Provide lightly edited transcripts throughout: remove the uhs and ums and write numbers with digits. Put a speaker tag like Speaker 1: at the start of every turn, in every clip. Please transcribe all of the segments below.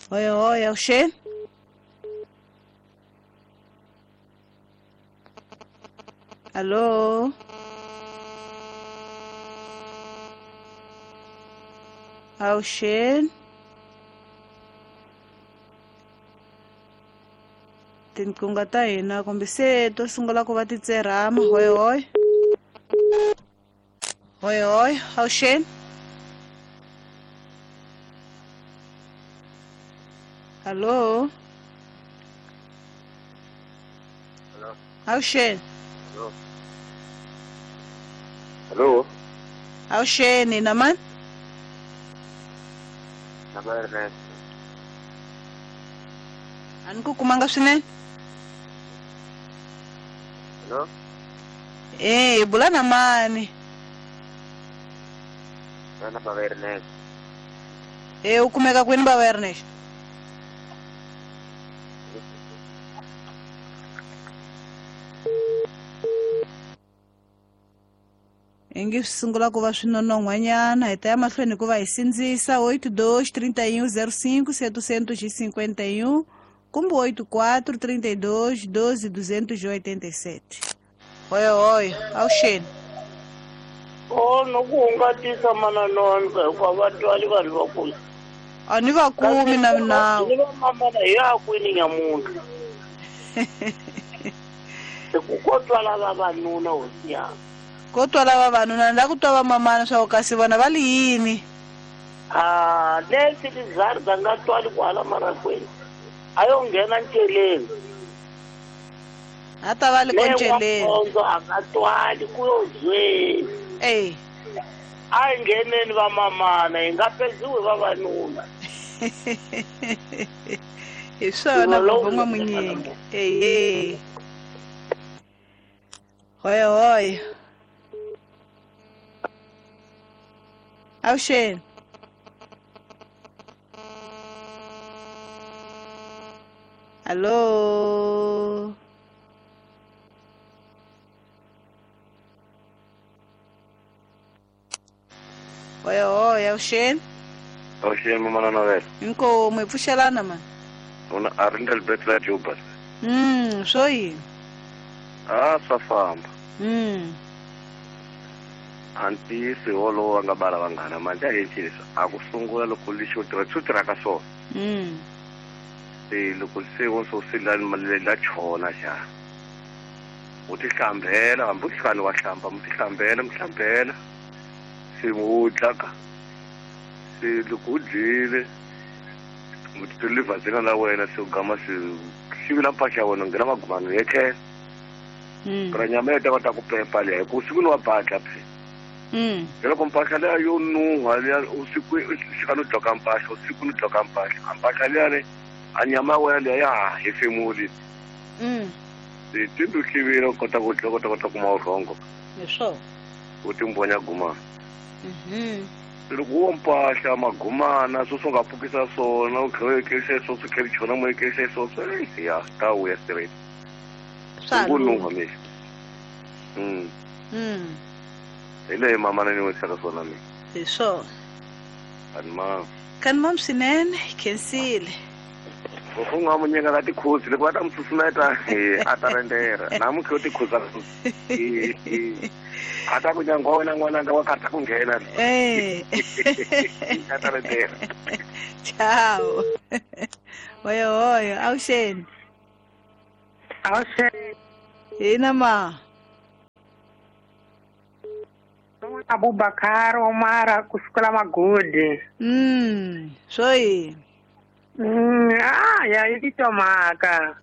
Speaker 1: Hoyo hoyo avuxeni. Hallo. Avuxeni. Tinqingho ta hina kumbe se to sungula ku va ti tserhama. Hoyo hoyo. Hoyo hoyo avuxeni. Hallo. Avuxeni.
Speaker 2: Hello.
Speaker 1: Avuxeni na mani?
Speaker 2: Na ba Ernest.
Speaker 1: A ni ku kumanga swinene.
Speaker 2: Hello.
Speaker 1: Eh, bula na mani?
Speaker 2: Na ba Ernest.
Speaker 1: Eh, u kumeka kwini baba Ernest? Ingi swi sungula ku va swi nonon'hwanyana hi ta ya mahlweni ku va hi sindzisa 82 31 05 751 kumbe 84 32 12 287. Hoyo hoyo avuxeni.
Speaker 3: O no ku hungatisa mananonka hikuva va twali vanhu vakulu.
Speaker 1: A ni va kumi na minawu.
Speaker 3: Ni va mamana hi ya kwini nyamuntlha. Hi ku ko twala vavanuna hosi yanga.
Speaker 1: Ko twala vavanuna ni la ku twa vamamana swa ku kasi vona va li yini?
Speaker 3: A lesi lizarda nga twali kwala marakweni. A yo nghena nceleni.
Speaker 1: A ta va li ko nceleni.
Speaker 3: Lewa a nga twali ku yo zweni.
Speaker 1: Eh.
Speaker 3: A hi ngheneni vamamana hi nga pedziwi vavanuna.
Speaker 1: Hi swona ku n'wamunyingi. Eh. Hoyo hoyo. Avuxeni. Hallo. Hoyo hoyo avuxeni.
Speaker 2: Avuxeni mamana Novela.
Speaker 1: Inkomu hi pfuxelana mani.
Speaker 2: Una Arendel Betla Juba.
Speaker 1: Swo yini?
Speaker 2: A swa famba. A ntiyiso hi wolowo va nga bala vanghana manje a hi a ku sungula loko lexi u tirha swi tirhaka swona. Se loko se wo so se la la chona xa. U ti hlambela hambi u hlani wa hlamba mu ti hlambela mu hlambela. Se mu dlaka. Se loko u dyile mu ti livhazina la wena se u gama se xivila mpahla ya wena nghena magumani ya tlhela. Ra nyama ya ta kota ku pepa leyi ku siku ni wa badla phe. Loko mpahla leya yo nuha leya usiku xika no dloka mpahla usiku no dloka mpahla mpahla leya le a nyama ya wena leya ya ha hefemuli. Se tindu hlivile u kota ku dya kota kota kuma vurhongo.
Speaker 1: Hi swona.
Speaker 2: U timbonya gumana. Loko wo mpahla magumana swo swi nga pfukisa swona u tlhela u ekerisa swo swi tlhela chona mo ekerisa swo swi ya ta vuya straight.
Speaker 1: Swa
Speaker 2: nuha mixo. Hi leyi mamana ni wisaka swona mina.
Speaker 1: Hi swona.
Speaker 2: Kanimam.
Speaker 1: Kanimam swinene, khensile.
Speaker 2: U nga mu nyika ka tikhuzi loko va ta mu susumeta a ta rendera. Namuntlha u tikhuza. A ta ku nyangwa wena n'wananga wa ka ta ku nghena.
Speaker 1: Eh.
Speaker 2: A ta rendera.
Speaker 1: Ciao. Hoyo hoyo, avuxeni.
Speaker 4: Avuxeni.
Speaker 1: Hina ma.
Speaker 4: Abubakar Omar kusukela Magodi.
Speaker 1: Swo yini?
Speaker 4: Ya yi titwa mhaka.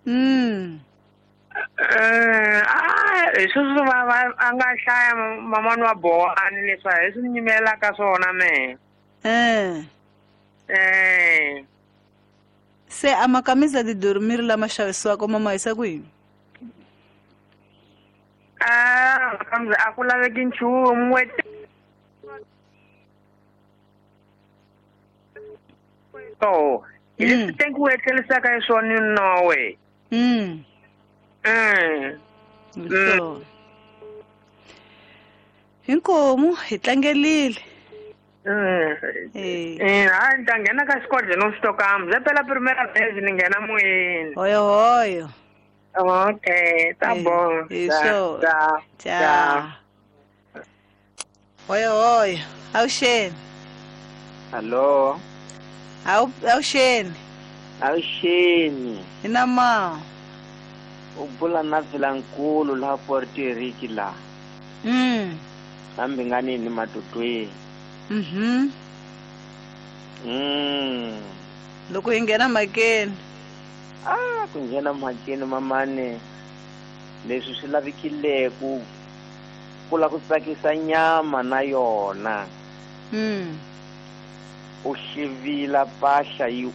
Speaker 4: Hi sweswi va a nga hlaya mamani wa Bowani leswi hi swi nyimelaka swona mehe.
Speaker 1: Se a makamisa de dormir lama xavisiwaka mama yisa kwini?
Speaker 4: Kambe a ku laveki nchumu to hi leswi tenkiwe etlerisaka hi swona nowe.
Speaker 1: Hinkomu hi tlangelile. Eh.
Speaker 4: Hayi ni ta nghena ka xikodlhe no swi tokamba ze pela primera vez ni nghena moyeni.
Speaker 1: Hoyo hoyo.
Speaker 4: Okay, tá
Speaker 1: Eh,
Speaker 4: bom.
Speaker 1: isso.
Speaker 4: Tá,
Speaker 1: Tchau. Hoyo hoyo. Avuxeni.
Speaker 5: Hallo.
Speaker 1: Avuxeni.
Speaker 5: Avuxeni.
Speaker 1: Hi na ma.
Speaker 5: U bula na Vilankulu laha Puerto Rico laha. Hambi nga nini matutweni.
Speaker 1: Loko hi nghena mhakeni.
Speaker 5: Ah, ku nghena mhakeni mamane. Leswi swi lavekile ku la ku tsakisa nyama na yona. U xivila mpahla yi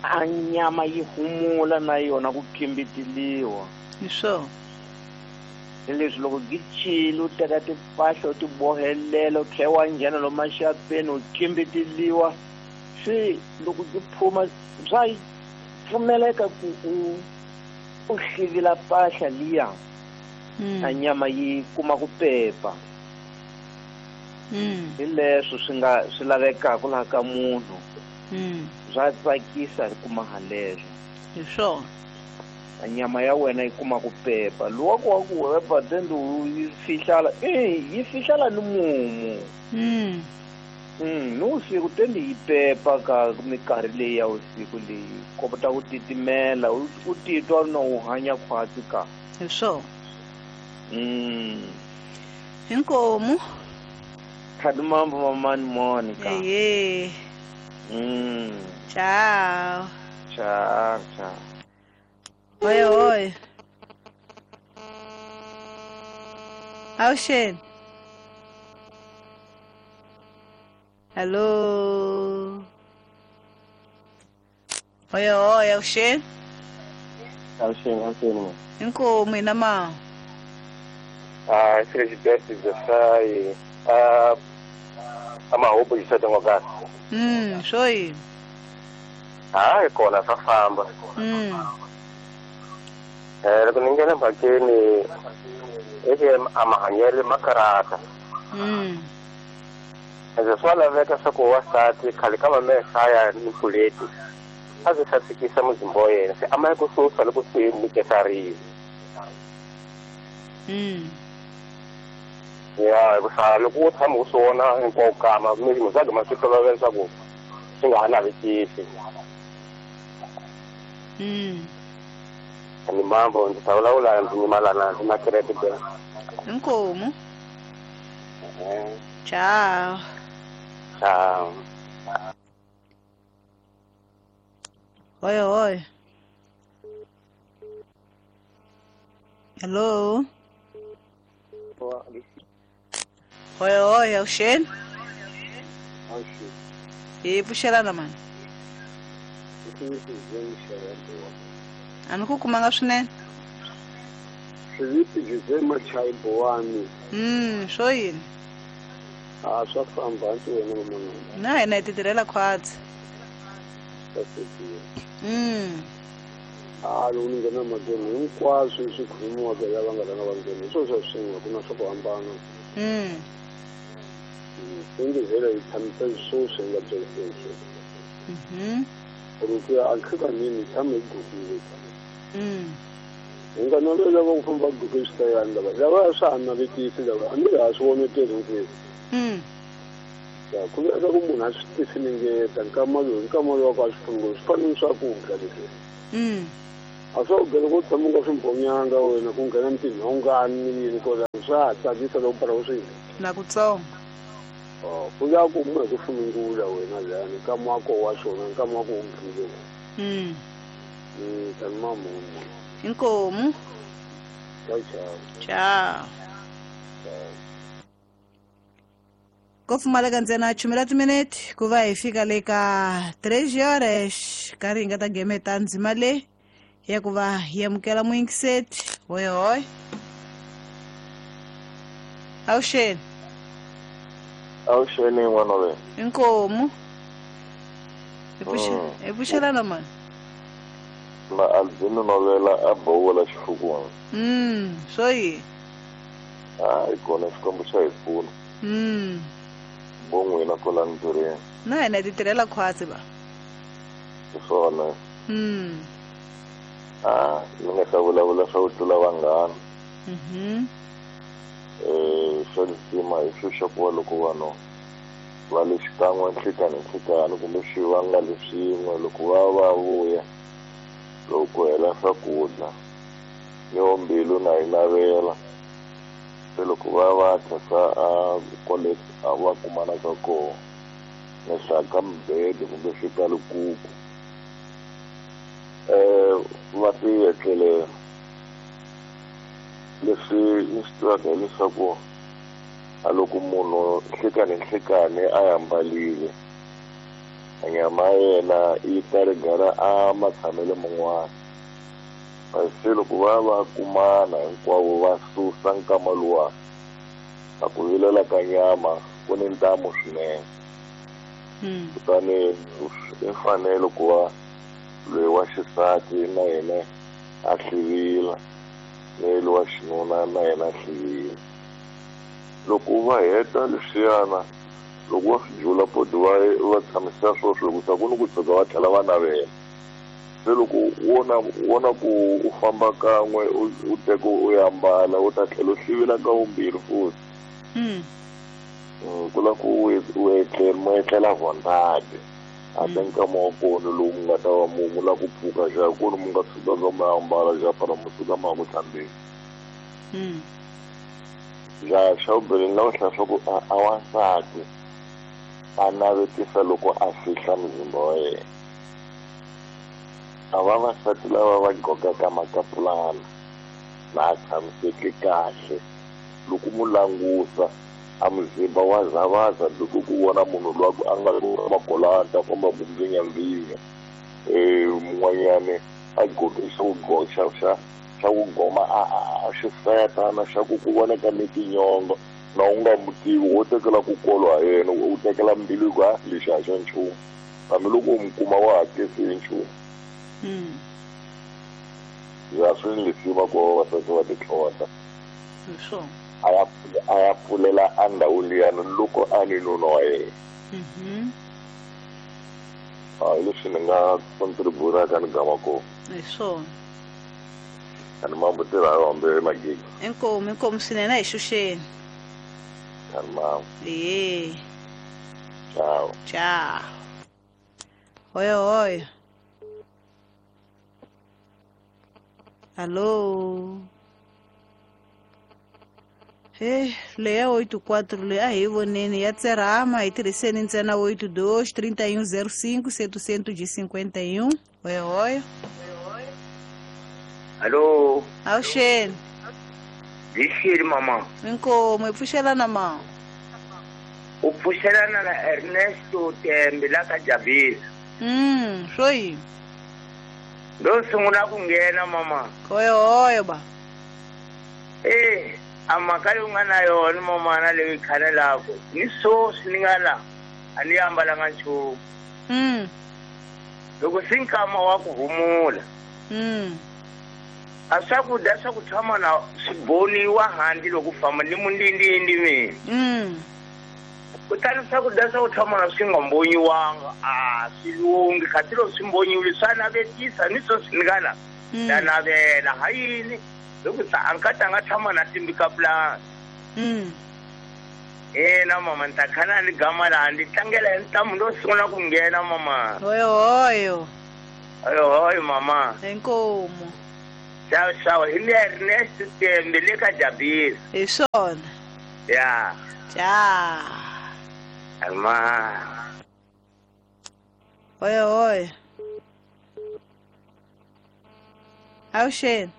Speaker 5: a nyama yi humula na yona ku khimbitiliwa.
Speaker 1: Hi swona.
Speaker 5: Leswi loko gi chile u teka timpahla u ti bohelela u tlhela wa nghena lomu maxapeni u khimbitiliwa swi loko gi phuma bya yi pfumeleka ku u hlivila mpahla liya. A nyama yi kuma ku pepa. Hi leswo swi nga swi lavekaka laha ka munhu. Bya tsakisa hi kuma haleswo.
Speaker 1: Hi swona.
Speaker 5: A nyama ya wena yi kuma ku pepa. Luwa ku wa ku wepa then yi fihlala, yi fihlala ni mumu. Ni usiku tende yi pepa ka minkarhi leyi ya usiku leyi kota ku titimela u titwa na u hanya khwatsi ka.
Speaker 1: Hi swona. Inkomu.
Speaker 5: Khadimambo mamani Monica.
Speaker 1: Ehe. Ciao.
Speaker 5: Ciao, ciao.
Speaker 1: Oi, oi. Avuxeni. Hello. Oi, oi, avuxeni.
Speaker 2: Avuxeni, avuxeni.
Speaker 1: Inkomu hina ma.
Speaker 2: Ah, Felisberto Desai. Ah, amahubu yisete ngokasi.
Speaker 1: Swo yini?
Speaker 2: Hayi kona swa famba. Loko ni nghena mhakeni eke a mahanyelo ma karata. Ende swa laveka swa ku wansati khale ka mamehaya ni puleti a swi sasekisa muzimba wa yena se a ma yi ku susa loko swi nyikesarile. Ya hikusa loko u tshama u swi vona hinkwawo kama muzagi ma swi tolovela leswaku swi nga ha navetisi. Ni mambo ndzi ta vulavula ndzi nyimalana ndzi na credit.
Speaker 1: Inkomu. Ciao.
Speaker 2: Ciao.
Speaker 1: Oi, oi. Hello. Oi, oi, avuxeni.
Speaker 2: Avuxeni.
Speaker 1: Hi pfuxelana mani. A ni ku kumanga swinene.
Speaker 2: Swiviti Jose Machai Bowani.
Speaker 1: Swo yini?
Speaker 2: A swa famba hansi wena mamana.
Speaker 1: Na hina hi ti tirhela khwatsi.
Speaker 2: A loko ni nghena mhakeni hinkwaswo swi khulumiwaka hi lava nga rhanga va nghena hi swona swa swin'we ku na swa ku hambana. Onge vhele hi tshamisa sweswi hi nga byerisiwi sweswi. Ku ku ya a nhlekanyeni hi tshama hi gugile. Hi nga navela lava ku famba guge switayani lava lava swa ha navetisi lava a ni ha swi voneteli hinkwenu. Ya ku veka ku munhu a swi tifinengeta nkama lowu nkama lowu wa ku a swi pfuni swi fana ni swakudya leswi. A swa ku loko u tshama u nga swi mbhonyanga wena ku nghena ni tinhongani ni yini kwalano swa ha tsakisa loko bara u swi dya.
Speaker 1: Na kutsongo.
Speaker 2: Ku ya ku munhu ku funungula wena lani nkama wa koho wa xona nkama wa ku u dlile. Tani mamunhu.
Speaker 1: Inkomu.
Speaker 2: Ciao, ciao.
Speaker 1: Ciao. Ko pfumaleka ntsena chumela timinete ku va hi fika le ka 3 horas karhi hi nga ta gemeta ndzima leyi ya ku va hi amukela muyingiseti. Hoy hoy. Avuxeni.
Speaker 6: Avuxeni n'wana wa wena.
Speaker 1: Inkomu. Hi pfuxelana mani.
Speaker 6: Na Albino Novela a bola xifukwana.
Speaker 1: Swo yini?
Speaker 6: Hayi kona Xikwembu xa hi pfuna. Bo n'wina kwala ntirhweni.
Speaker 1: Na hina hi ti tirhela khwatsi ba.
Speaker 6: Hi swona. A ni nga ta vulavula swa ku tlula vanghana. Swa lisima hi swo xa ku va loko vanhu va le xikan'we nhlikani nhlikani kumbe swi va nga le swin'we loko va va vuya loko ku hela swakudya yo mbilu na yi navela se loko va va tlhesa a kwale a va kumanaka kona henhla ka mibede kumbe swi ka likuku va ti etlelela. Leswi ni swi tivaka hileswaku a loko munhu nhlikani nhlikani a ambarile a nyama ya yena yi ta rigara a matshamelo man'wana se loko va va kumana hinkwavo va susa nkama luwa a ku vilela ka nyama ku ni ntamu swinene. Kutani i mfanelo ku va loyi wa xisati na yena a hlivila ni loyi wa xinuna na yena a hlivila. Loko va heta leswiyana loko va swi jula poti va tshamisa swoswo hikusa ku ni ku tshuka va tlhela va navela. Se loko wona ku u famba kan'we u teka u ya ambala u ta tlhela u hlivila ka vumbirhi futhi. Ku la ku u etlela mo etlela vondade a te nkama wa kona lowu mu nga ta va mu la ku pfuka xa kona mu nga tshukaka mu ambala xa para mu suka ma ya ku hlambeni. Ja xa vumbirhi ni lava ku hlaya swa ku a wansati a navetisa loko a fihla muzimba wa yena. A vavasati lava va gqokaka makapulana na a tshamiseke kahle loko mu langusa a muzimba wa zavaza loko ku vona munhu loyi a nga makolanta ta famba ku mvinyamvinya mun'wanyani a gqoke xo xa xa ku goma a xiseta na xa ku ku voneka ni tinyongo na u nga mu tivi wo tekela ku kolwa ha yena u tekela mbilu ku a lexi a xa nchumu hambiloko u mu kuma wa hakesi hi nchumu. Ya swi ni leswi va ku vavasati va titlhota a ya pfulela a ndhawu liyani loko a ni nuna wa yena. Hi leswi ni nga contributaka ni gama kona.
Speaker 1: Hi swona.
Speaker 6: Ani mambo tirha yo hambi magigi.
Speaker 1: Inkomu inkomu swinene a hi xuxeni.
Speaker 6: Ani mambo.
Speaker 1: Ehe.
Speaker 6: Ciao.
Speaker 1: Ciao. Hoyo hoyo. Alô. He, leya 84 leyi a hi voneni ya tserhama hi tirhiseni ntsena 82 3105 751. Hoyo hoyo.
Speaker 3: Alô.
Speaker 1: Awuxeni.
Speaker 3: Hi xini mama?
Speaker 1: Inkomu hi pfuxelana ma.
Speaker 3: U pfuxelana na Ernesto Tembe la ka Jabisa.
Speaker 1: Swo yini?
Speaker 3: Ndo sungula ku nghena mama.
Speaker 1: Hoyo hoyo ba.
Speaker 3: A mhaka leyi u nga na yona mama na leyi khanelaka ni swoswi ni nga la a ni ambalanga nchumu. Loko se nkama wa ku humula. A swakudya swa ku tshama na swi boniwa handle loko famba ni mundindindi mina. Kutani swakudya swa ku tshama na swi nga mbonyiwanga a swi lunghi kasi loko swi mbonyiwile swa navetisa ni swoswi ni nga la na navela ha yini loko sa a nkati a nga tshama na timbikapulani. Ina mama ni ta khana ni gama laha ndzi tlangela hi ntamu ndo sungula ku nghena mama.
Speaker 1: Hoyo hoyo.
Speaker 3: Hoyo hoyo mama.
Speaker 1: Inkomu.
Speaker 3: Ciao ciao hi le Ernest Tembe le ka Jabisa.
Speaker 1: Hi swona.
Speaker 3: Ya.
Speaker 1: Ciao.
Speaker 3: Alma.
Speaker 1: Hoyo hoyo. Awuxeni.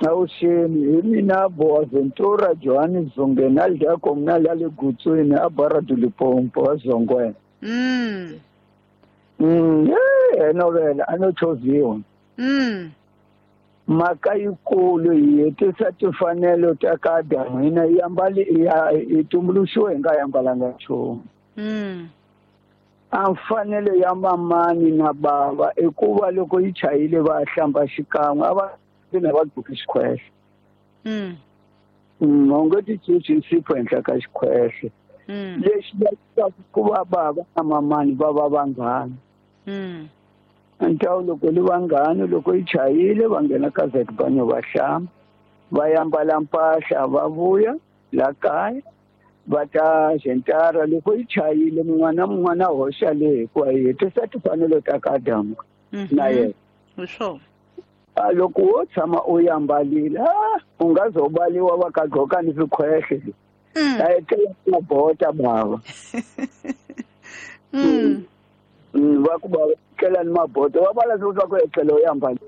Speaker 7: Awuxeni hi mina Boaventura Johannes Zongena dya communal ya le Gutswini a Barra do Limpopo a Zongweni. Novela a no chovhiwa. Mhaka yikulu yi hetisa timfanelo ta ka Adamu hina yi ambali yi tumbuluxiwe hi nga ambalanga nchumu. A mfanelo ya mamani na bava i ku va loko yi chayile va hlamba xikan'we a va na va gqoki xikhwehle. U nge ti cuci nsipho henhla ka xikhwehle. Lexi lavekaka ku va bava na mamani va va vanghana. Ntawu loko li vanghana loko yi chayile va nghena ka Zetbanyo va hlamba va yambala mpahla va vuya la kaya va ta zentara loko yi chayile mun'wana mun'wana hoxa le hikuva yi hetisa timfanelo ta ka Adamu na yena. A loko wo tshama u yambalile u nga zo baliwa va ka gqoka ni swikhwehle. A etlela mabota bava. Va ku va tlela ni mabota va vala swa ku etlela u yambalile.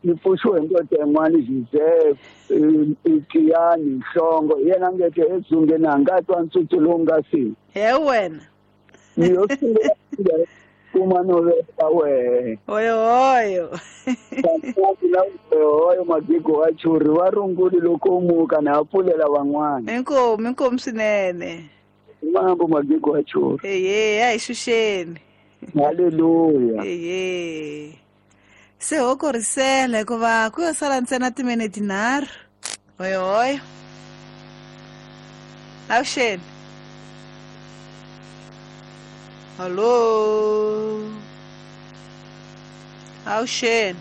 Speaker 7: Ni pfuxiwe hi ndoda yin'wana Joseph Tiyani Nhlongo hi yena ngete edzungeni a nga twa ntsutsu lowu nga si.
Speaker 1: He wena.
Speaker 7: Ni yo sungula kuma no veka wehe.
Speaker 1: Oyo oyo.
Speaker 7: Oyo magigo wa churi va runguli loko u muka na pfulela van'wana.
Speaker 1: Inkomu inkomu swinene.
Speaker 7: Mambo magigo wa churi.
Speaker 1: Eye a hi xuxeni.
Speaker 7: Haleluya.
Speaker 1: Eye. Se ho korisela hikuva ku yo sala ntsena timinete 3. Oyo oyo. Avuxeni. Alô. Avuxeni.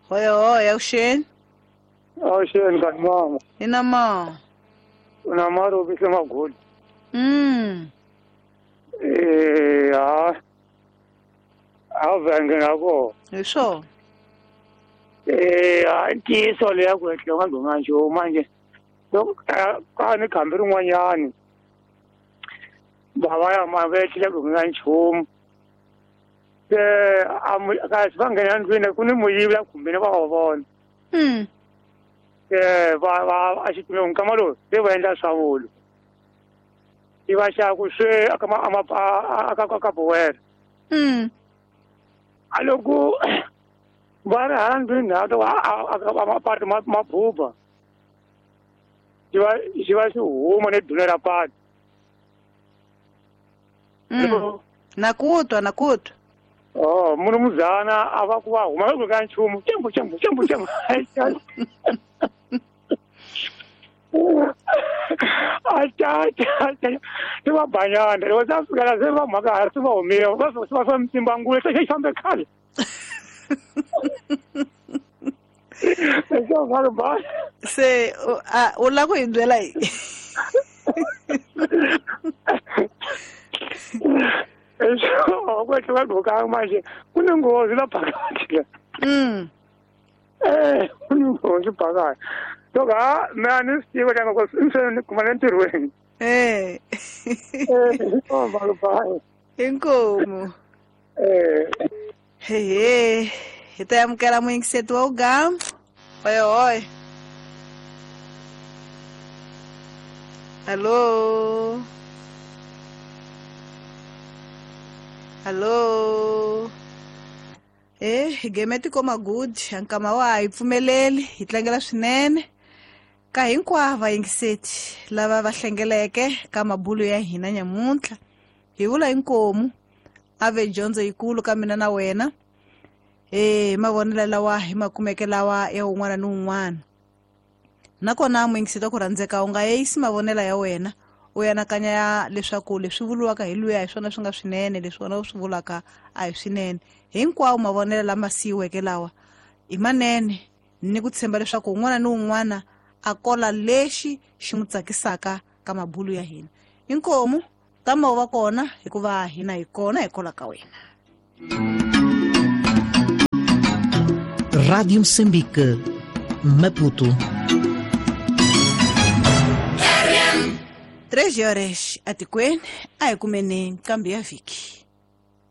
Speaker 1: Oyo oyo avuxeni.
Speaker 4: Avuxeni ka mama.
Speaker 1: Ina ma.
Speaker 4: Una maro bise magoli. A venge na ko.
Speaker 1: Hi swona.
Speaker 4: A ntiyiso leya ku etlela u nga gqokanga nchumu manje. Loko ka ni khambi rin'wanyani bava ya ma va etlele ku nga nchumu. Se a kasi va nghena ndlwini ku ni muyivi la khumbini va va vona. Va a xitume nkama lowu se va endla swa vulu. I va xa ku swe aka aka ka buwela. A loko va ri hala ndlwini na to a mapatu mabuba. Xi va xi huma ni dune ra patu.
Speaker 1: Na ku twa na ku twa.
Speaker 4: Oh, munhu muzana a va ku va huma va ka nchumu chembu chembu chembu chembu. Acha ti va banyana loko se fika se va mhaka ha se va humile va va swa mtsimba ngule se xi fambe khale.
Speaker 1: Se u la ku hi byela yi.
Speaker 4: Ku etlela gqokanga manje ku ni nghozi la phakathi. Ku ni nghozi phakathi. Loko ha me a ni swi tiva loko se ni kuma le ntirhweni.
Speaker 1: Inkomu. Hehe. Hi ta amukela muyingiseti wa ugama. Oyo oyo. Alô. Alô. Hi game magudi nkama wa hi pfumeleli hi tlangela swinene ka hinkwavo vayingiseti lava va hlengeleke ka mabulu ya hina nyamuntlha. Hi vula inkomu a ve dyondzo yikulu ka mina na wena. Mavonelo lawa hi makumeke lawa ya un'wana ni un'wana. Nakona muyingiseti wa ku rhandzeka u nga yeyisi mavonelo ya wena u anakanya leswaku leswi vuriwaka hi luya hi swona swi nga swinene leswi wena u swi vulaka a hi swinene. Hinkwawo mavonelo lama siyiweke lawa i manene ni ku tshemba leswaku un'wana ni un'wana a kola lexi xi n'wi tsakisaka ka mabulu ya hina. Inkomu tama u va kona hikuva hina hi kona hi kola ka wena.
Speaker 8: Rádio Moçambique, Maputo.
Speaker 1: 3 horas atikweni a hi kumeni nkambi ya vhiki.